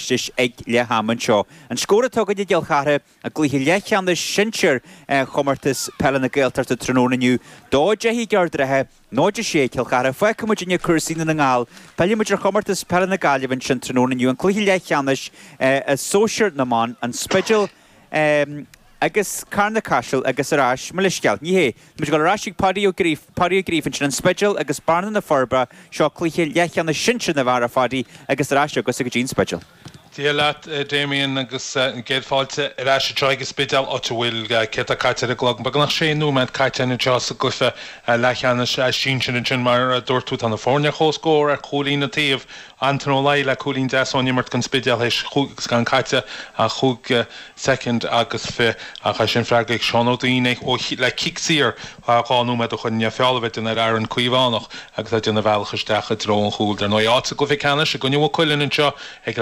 leistis ag leath ama anseo. An scór atá againn i gCill Chartha i gcluiche leathcheannais sinsir Chomórtas Peile na Gaeltachta tráthnóna inniu, 2-10 ag Ard an Rátha, 0-6 Cill Chartha. Fágfaidh muidinne cúrsaí Dhún na nGall. Pillfidh muid ar Chomórtas Peile na Gaillimhe ansin tráthnóna inniu, an cluiche leathcheannais i sóisear na mban, An Spidéal agus Carna Caiseal agus ar ais, mo leithscéal, ní hé, tá muid ag dul ar ais chuig Páidí Ó Gríofa, Páidí Ó Gríofa ansin, An Spidéal agus Bearna na Forbacha, seo cluiche leathcheannais sinsir na bhfear a Pháidí agus ar ais agatsa go dtí an Spidéal. Dia leat, a Damien, agus an gcéad fáilte ar ais anseo ag an Spidéal, áit a bhfuil, céard atá caite ar an gclog, beagnach sé nóiméad caite anseo sa gcluiche leathcheannais sinsir ansin. Mar a dúirt tú, tá na foirne ar comhscór ar chúilín an taobh. Anton Ó Laoi le cúilín deas ón imirt don Spidéal théis chúig agus gan caite ach chúig soicind agus fi ach é sin freagraithe ag Seán Ó Duinn le cic saor 2 nóiméad ó shoin, feall a bheith déanta ar Aaron Caomhánach agus é ag déanamh a bhealach isteach i dtreo an chúil. Dar ndóigh, áit sa gcluiche ceannais i gcoinne Mhaigh Cuilinn anseo ag.